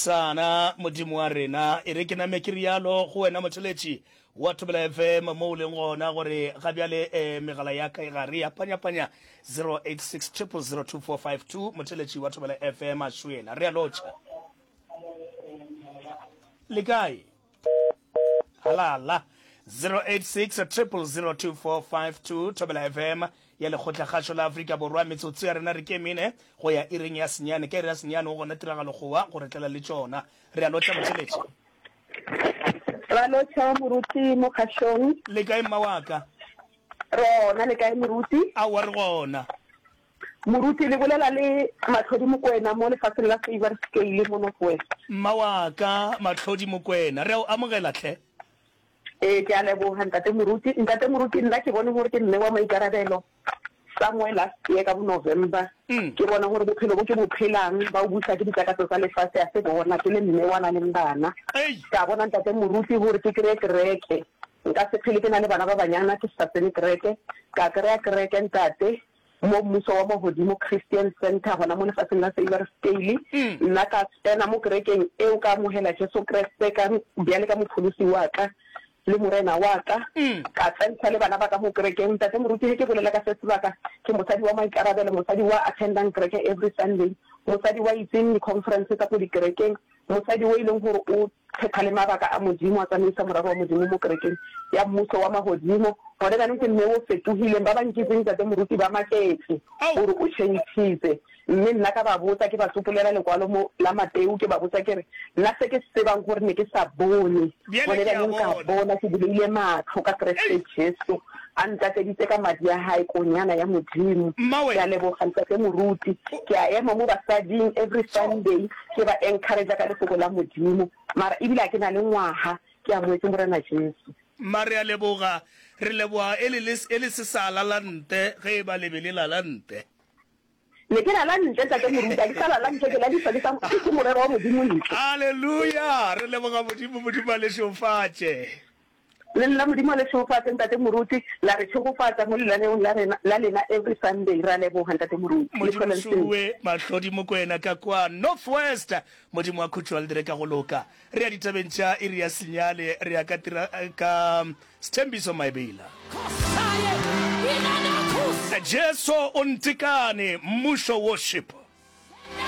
Sana, Modimo wa rena, e re ke name ke rialo go wena motheletši wa Thobela FM mo o leng gona gore ga bjale eh, megala ya ka e gare ya panyapanya 086 0002452 motheletši wa Thobela FM a šwela. Re a lotšha. Le kae? Halala. 086 0002452 Thobela FM ya Lekgotlakgašo la Afrika Borwa. Metsotso ya rena re ke mene go ya iring ya senyane. Ka iri ya senyane go gona tiragalo gowa go re tlela le tšona. Re a lotšha motheletši. Ra lotšha moruti mo kgašong. Le kae mma wa ka? Re gona, le kae moruti? Aowa re gona. Moruti, le bolela le Mahlodi Mokwena mo lefaseng la Favour Scale mo North West. Mma wa ka, Mahlodi Mokwena, re a o amogela hle. Ee, ke a leboga Ntate Moruti. Ntate Moruti, nna ke bone gore ke mme wa maikarabelo. Somewhere last year ka bo November, ke bona gore bophelo bo ke bo phelang ba o busa ke ditakatso tsa lefase a se bona ke le mme wa na leng bana. Ka bona Ntate Moruti gore ke kry-e kereke. Nka se phele ke na le bana ba banyana ke sa tsene kereke. Ka kry-a kereke Ntate. Mo Mmuso wa Magodimo Christian Centre gona mo lefaseng la Seiwerscale. Nna ka tsena mo kerekeng eo ka amogela Jesu Kriste ka bjale ka Mopholosi wa ka le Morena wa ka. Ka tsentšha le bana ba ka mo kerekeng. Ntate Moruti ge ke bolela ka se sebaka ke mosadi wa maikarabelo, mosadi wa attendang kereke every Sunday, mosadi wa itseng di-conference tsa ko dikerekeng, mosadi o e leng gore o phetha le mabaka a Modimo, a tsamaisa morero wa Modimo mo kerekeng ya Mmuso wa Magodimo. Gone jaanong ke mme o fetogileng. Ba ba nkitseng Ntate Moruti ba maketse gore o tšhentšhitse. Mme nna ka ba botsa, ke ba tsopolela lekwalo mo la Mateo, ke ba botsa ke re, Nna se ke se tsebang gore ne ke sa bone, Bjale gone ke a jaanong ka bona. bona, ke buleile matlho ka Kriste Ei! Jesu, a ntlatseditse ka madi a hae, Konyana ya Modimo. Mmawe! Ke a leboga Ntate Moruti. O. Ke a ema mo basading every Tjo! Sunday, ke ba encourage-a ka Lefoko la Modimo. Mara ebile ga ke na le ngwaga ke amogetše Morena Jesu. Mma re a leboga. Re leboga e le le, e le se sa lala nte, ge e ba le be le lala nte. Ne ke lala ntle, Tate Moruti, ga ke sa lala ntle, ke ladiswa ke sa, ke morero wa Modimo ntle. Haleluya! Re leboga Modimo, Modimo a le šeofatše. Le nna Modimo a le šegofatše Ntate Moruti, la re šegofatša mo lenaneong la rena la lena every Sunday, ra leboga Ntate Moruti. Le Modimo hlole le sentle. Šuwe Mahlodi Mokwena ka kwa North West. Modimo wa khutšo a le dire ka go loka. Re ya ditabeng tša iri ya senyane, re ya ka tira ka Sthembiso Maebela. Jesu o ntekane, Mmušo Worship.